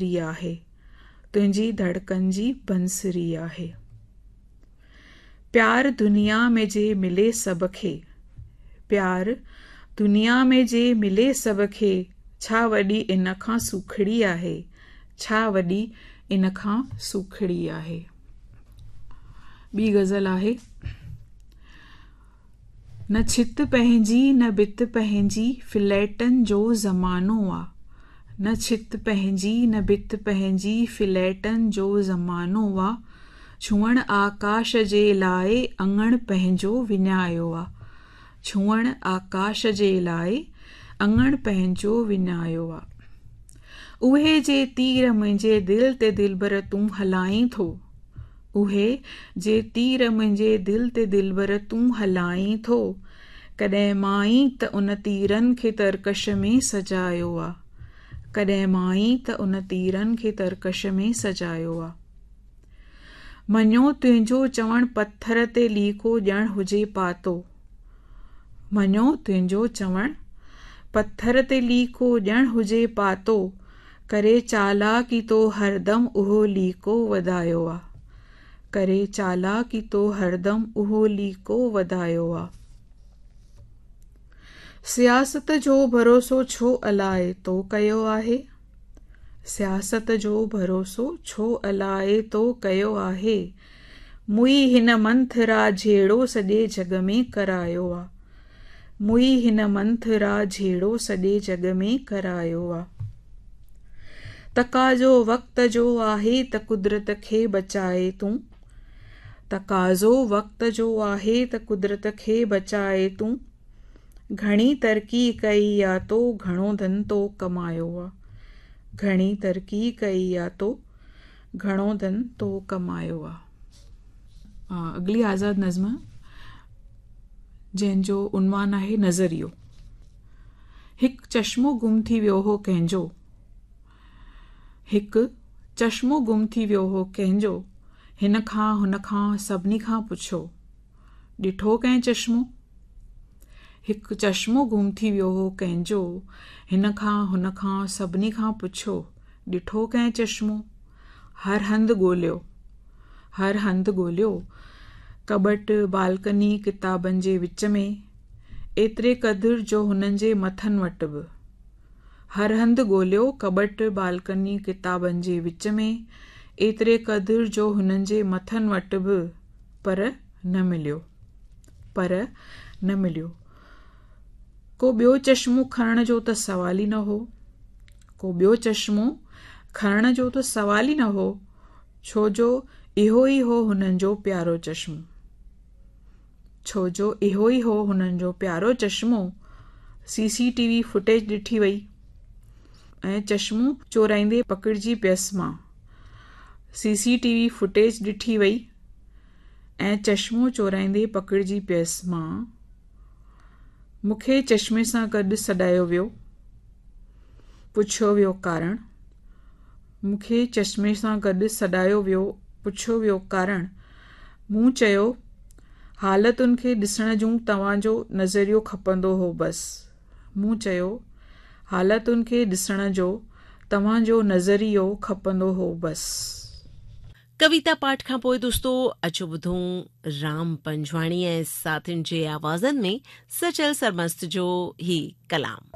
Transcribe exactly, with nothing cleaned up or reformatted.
آهي، تنهنجي ڌڙڪن جي بنسري آهي. پيار دنيا ۾ جي ملي سڀ کي، پيار دنيا ۾ جي ملي سڀ کي، ڇا وڏي ان کان سوکڙي آهي، ڇا وڏي ان کان سوکڙي آهي. ٻي غزل آهي، نه ڇت پنهنجي نه ڀت پنهنجي، فليٽن جو زمانو آ. نه ڇت پنهنجي نه ڀت پنهنجي، فليٽن جو زمانو آ. ڇهڻ آڪاش جي لاءِ اڱڻ پنهنجو وڃايو آ. ڇهڻ آڪاش جي لاءِ اڱڻ پنهنجو وڃايو آ. اهي جي تير منهنجي دل تي دلبر تون هلائين ٿو، اهي جي تير منهنجي دل تي دلبر تون هلائين ٿو، ڪڏهن مان ئي ته ان تيرن کي ترڪش ۾ سجايو آ. ڪڏهن مان ئي ته ان تيرن کي ترڪش ۾ سجايو آ. مڃيو تنهنجو چوڻ پٿر تي ليڪو ڄڻ هجي پاتو، مڃيو تنهنجو چوڻ پٿر تي ليڪو ڄڻ هجي پاتو، ڪري چالاڪي تو هردم اهو ليڪو وڌايو آ. ڪري چالاڪي تو هردم اهو ليڪو وڌايو آ. سياست جو ڀروسو ڇو الائي تو ڪيو آهي، سياست جو ڀروسو ڇو الائي تو ڪيو آهي، موئي هن منٿرا جهيڙو سڄي جڳ ۾ ڪرايو آ. موئي هن منٿرا جهيڙو سڄي جڳ ۾ ڪرايو آ. تقاضو وقت جو آهي ته قدرت کي بچائي تون، تقاضو وقت جو آهي ته قدرت کي بچائي تون، گهڻي ترقي ڪئي آ تو گهڻو ڌن تو ڪمايو آ. گهڻي ترقي ڪئي آ تو گهڻو ڌن تو ڪمايو آ. اڳلي آزاد نظم جنهن جو عنوان آهي نظريو. هڪ چشمو گم ٿي ويو هو ڪنهن جو، هڪ چشمو گم ٿي ويو هو ڪنهن جو، هن کان هن کان سڀني کان پڇيو، ڏٺو ڪنهن چشمو؟ هڪ چشمو گم ٿي ويو هو ڪنهن جو، هن کان هن کان سڀني کان پڇيو، ڏٺو ڪنهن چشمو؟ هر هنڌ ڳوليو، هر هنڌ ڳوليو، ڪٻٽ بالڪني ڪتابن جي وچ ۾، ايتري قدر جو هنن جي مٿن وٽ به. هر هنڌ ڳوليو، ڪٻٽ بالڪني ڪتابن جي وچ ۾، ايتري قدر جو هنن جي مٿن وٽ به، پر نه مليو، پر نه مليو. ڪو ٻيو چشمو کڻڻ جو ته سوال ئي نه هو، ڪو ٻيو چشمو کڻڻ جو ته سوال ئي نه هو، ڇو جو اهو ئي هو هنن جو پيارو چشمو، ڇو جو اهو ئي هو هنن جو پيارو چشمو. سي سي ٽي وي فوٽيج ڏٺي وئي ۽ چشمو چورائيندي پڪڙجي پيس مان. سي سي ٽي وي فوٽيج ڏٺي وئي ۽ چشمو چورائيندي پڪڙجي پيس مان. مون کي چشمي سان گڏ سڏايو ويو، پڇيو ويو ڪارڻ. مون کي چشمي سان گڏ سڏايو ويو، پڇيو ويو ڪارڻ. مون چيو، حالتن کي ڏسڻ جون توهان جو نظريو کپندو هو بس. مون چيو، حالتن کي ڏسڻ جو توهان جو نظريو کپندو هو بس. ڪويتا پاٺ کان پوءِ دوستو اچو ٻڌون رام پنجواڻي ۽ ساٿين جي آوازن ۾ سچل سرمست جو هي ڪلام.